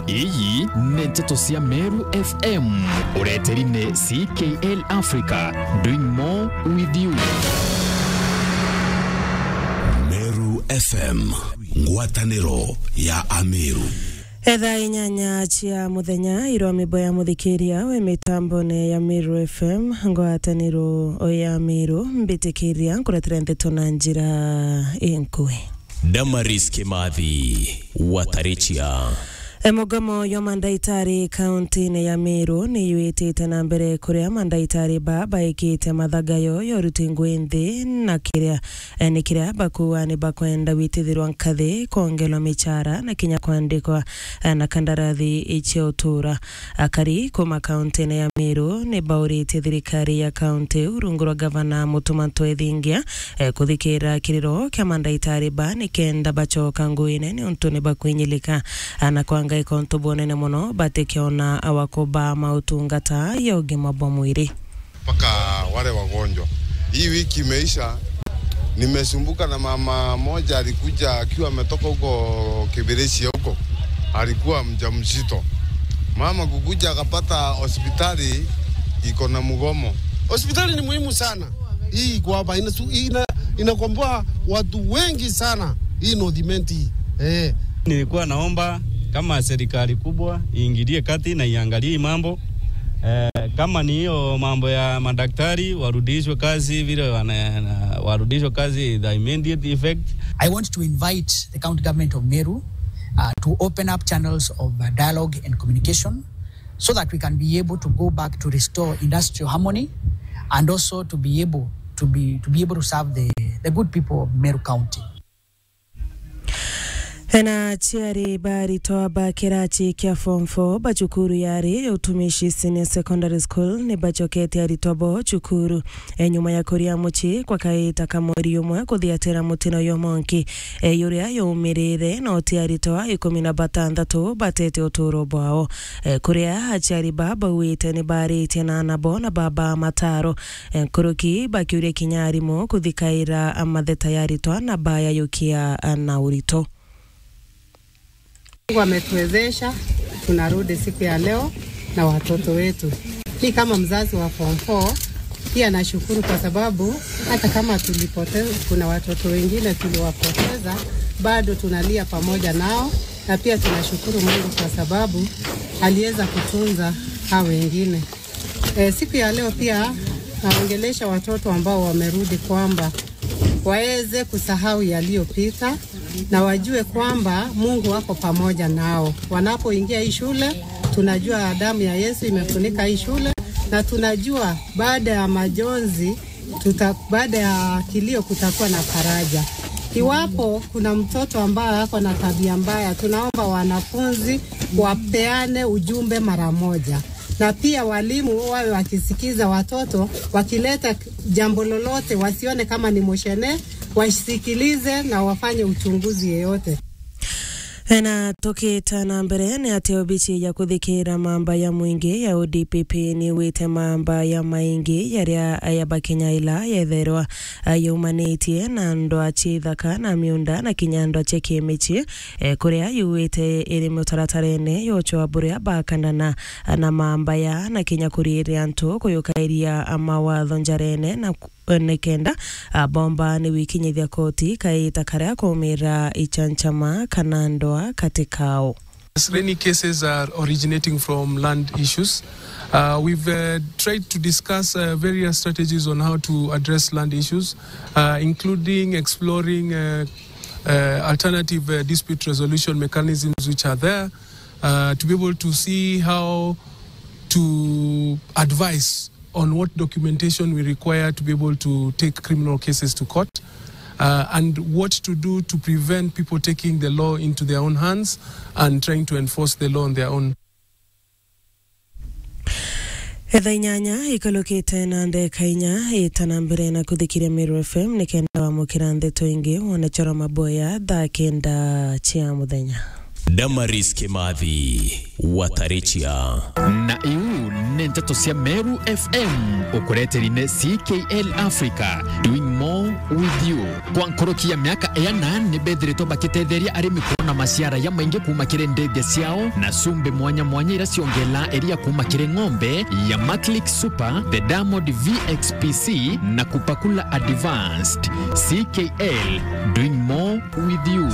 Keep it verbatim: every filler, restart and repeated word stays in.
Iyi ni nteto cia Meru F M. Ureteri ni C K L Africa, doing more with you. Meru F M, ngwataniro ya Ameru. Etha inyanya cia muthenya, irwa mibo ya muthikiria we mitambone ya Meru F M, ngwataniro ya Meru, mbitikiria nkuretera nteto na njira inkui. Damaris Kimathi, Watarichia. E, mugomo jwa mandaitari kauntine ya Meru ni jwitite na mbere, kuria mandaitari ba baikite mathagayo ya uruti ngui nthi, na kiria, e, ni kiria bakuuga ni bakwenda gwitithirwa nkathi, kwongerwa michara na kinya kwandikwa, e, na kandarathi cia utura. Akari kuma kauntine ya Meru ni bauritie thirikari ya kaunti rungu rwa gavana Mutuma M'Ethingia, e, kuthikira kiriro kia mandaitari ba nikenda bacoka nguine, niuntu ni bakwinyilika, a, na kwangaika untu bunene mono batikiona awako ba mautungata ya ugima bwa mwiri. Mpaka wale wagonjwa. Hii wiki imeisha, nimesumbuka na mama moja alikuja akiwa ametoka huko Kibirichia huko. Alikuwa mjamzito. Mama kukuja akapata hospitali iko na mgomo. Hospitali ni muhimu sana. Hii iko hapa inasu-, ina-, inakomboa watu wengi sana. Hii North Imenti hii. Eh. Nilikuwa naomba kama serikali kubwa iingilie kati na iangalie hii mambo. Eh, kama ni hiyo mambo ya madaktari, warudishwe kazi vile wana-, warudishwe kazi the immediate effect. I want to invite the county government of Meru, uh, to open up channels of, uh, dialogue and communication so that we can be able to go back to restore industrial harmony and also to be able to be, to be able to serve the, the good people of Meru County. Ena aciari ba aritwa ba kirachi kia form four ba cukuru yari ya Utumishi Senior Secondary School ni bacokete aritwa bo cukuru, e, nyuma ya kuria mucii kwa kaita ka mweri umwe kuthiatira mutino yo monki, e, yuria yaumirire na uti aritwa ikumi na batantatu batete uturo bwao. E, kuria aciari ba bauite ni baritie na anabo na baba mataro, e, nkuruki bakiuria kinya arimu kuthikaira matheta ya aritwa na bayayukia na urito. Mungu ametuwezesha, tunarudi siku ya leo na watoto wetu. Mi kama mzazi wa form four, pia nashukuru kwa sababu hata kama tulipoteza, kuna watoto wengine tuliwapoteza, bado tunalia pamoja nao, na pia tunashukuru Mungu kwa sababu aliweza kutunza hao wengine. E, siku ya leo pia naongelesha watoto ambao wamerudi kwamba waweze kusahau yaliyopita na wajue kwamba Mungu wako pamoja nao. Wanapoingia hii shule, tunajua damu ya Yesu imefunika hii shule, na tunajua baada ya majonzi, tuta-, baada ya kilio kutakuwa na faraja. Iwapo kuna mtoto ambaye ako na tabia mbaya, tunaomba wanafunzi wapeane ujumbe mara moja. Na pia walimu wawe wakisikiza watoto, wakileta jambo lolote, wasione kama ni mushene, wasikilize na wafanye uchunguzi yeyote. Na tukita na mbere, ni ati obici ya kuthikira mamba ya mwingi ya O D P P ni wite mamba ya maingi yaria ya Bakenya ila yetherwa, a, yaumanitie na ndwa cia ithaka na miunda na kinya ndwa cia kimici, e, kuria yuite iri mutaratarene yochwa buria bakandana na mamba ya na kinya kuriiria antu kuyukairia mawatho njarene na ku-, nikenda, a, bomba ni wikinyithia koti kaita karia kumira ichanchama kana ndwa kati kao. Rainy cases are originating from land issues. Uh, we've, uh, tried to discuss, uh, various strategies on how to address land issues, uh, including exploring, uh, uh, alternative, uh, dispute resolution mechanisms which are there, uh, to be able to see how to advise on what documentation we require to be able to take criminal cases to court, uh, and what to do to prevent people taking the law into their own hands and trying to enforce the law on their own. Etha inyanya ikulukite na ndeka inya, ita na mbere na kuthikiria Meru F M nikenda wamukira ndeto ingi wone chora maboya thaa kenda cia muthenya. Damaris Kimathi, Watarichia. Na iu ni nteto cia Meru F M, ukureteri ni C K L Africa, doing more with you. Kwa nkoroki ya miaka iana, ni bethiritwe bakitetheria arimi kwona maciara ya maingi kuma kiri ndithia ciao na cumbi mwanya mwanya iria ciongelaa iria kuma kiri ng'ombe ya Maclick Super, the Diamond V X P C na Kupakula Advanced. C K L, doing more with you.